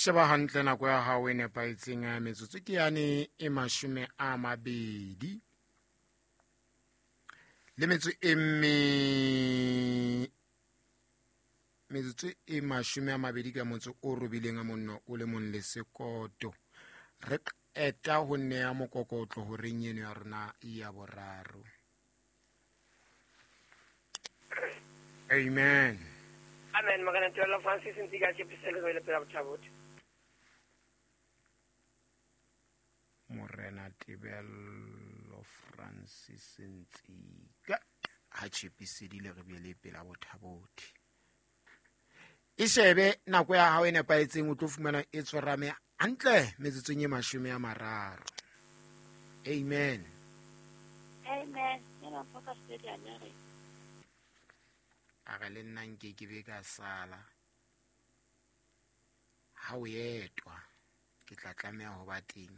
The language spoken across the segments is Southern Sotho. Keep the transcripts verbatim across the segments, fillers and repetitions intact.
Sheba hantle nako ya hao e nepahetseng, metsotso ke yane e mashome a mabedi le metso e mme metsotso e mashome a mabedi ka motso o robileng a monno o le mong le sekoto. Re qeta ho nea mokokotlo horeng eno ya rona ya boraro. Amen. Amen. Morena Tebello Francis Ntsika tšepisele go ile pela bothabothe. Morena Tebello Francis Ntsika ha tšepisedile re bele pela bothabothe. E shebe nako ya hao e nepahetseng, o tlo fumana e tshwarame hantle metsotsong e mashome a mararo. Amen. Amen. Nna mfoka stadium ya re. A re le nna nke ke be ka sala ha o etwa, ke tla tlameha ho ba teng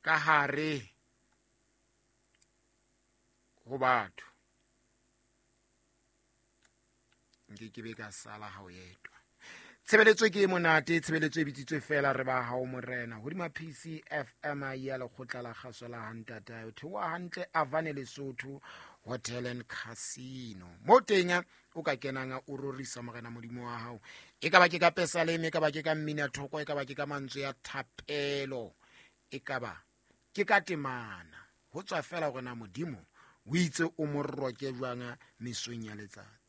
ka hare ho batho. Nke ke be ka sala ha o etwa. Tshebeletso ke e monate, tshebeletso e bitsitswe fela re ba hao morena. Hodima P C F M ya lekgotla la kgaso la Hantatae, o theoha hantle Avane Lesotho Hotel and Casino. Mo teng o ka kenang o rorisa morena Modimo wa hao. E ka ba ke ka pesaleme, e ka ba ke ka mmina thoko, e ka ba ke ka mantswe ya thapelo, e ka ba ke ka temana. Ho tswa fela hore na Modimo o itse o mo roke jwang mesong ya letsatsi.